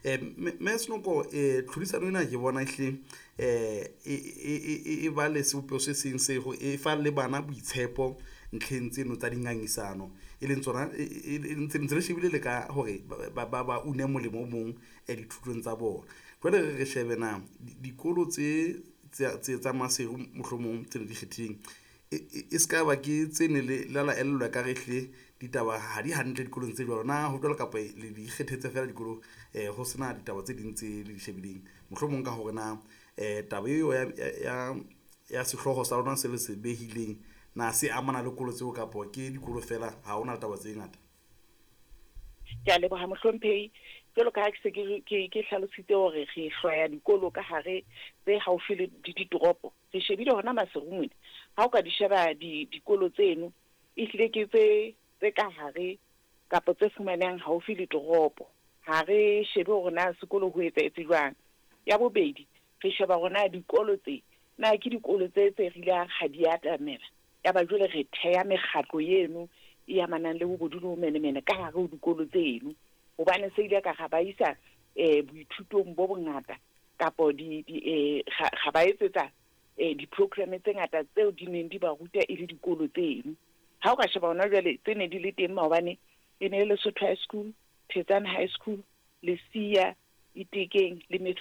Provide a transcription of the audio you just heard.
Mme Senoko, tlhodisano ena ke bona ehlile e ba le sebopeho se seng se e fa le bana boitshepo ntlheng tseno tsa dingangisano, e leng tsona ntse re shebile le ka hore ba une molemo o mong dithutong tsa bona. Jwale re shebe na dikolo tse tsa Maseru mohlomong tse le di kgethileng e se ka ba ke tse ne le la elellwa ka re ehlile ditaba ha di hantle dikolong tse jwalo na ho jwalo, kapa le di ikgethetse fela dikolo ho sena ditaba tse ding tse le di shebileng, mohlomong ka hore na taba eo ya sehlooho sa lona se le se behileng na se amana le kolo tseo kapa ke dikolo fela ha hona taba tse ngata? Ke a leboha, mohlomphehi. Jwalo ka ha ke se ke hlalositse hore re hlwaya dikolo ka hare tse haufi le ditoropo, re shebile hona Maseru mona. Ha o ka di sheba dikolo tseno, ehlile ke tse ka hare kapa tse fumanehang haufi le toropo. Ha re shebe hore na sekolo ho etsahetse jwang. Ya bobedi, re sheba hore na dikolo tse na ke dikolo tse re ile ha di atamela. Ya ba jwale re theha mekgatlo eno e amanang le bobodu le bomenemene ka hare ho dikolo tseno, hobane se ile ka ra ba isa boithutong bo bongata kapo ga ba etsetsa di-programme tse ngata tseo di neng di ba ruta e le dikolo tseno. Ha o ka sheba hona jwale tse ne di le teng maobane, e ne e le Lesotho High School, Thetsane High School, Lesia, Itekeng le Methodist.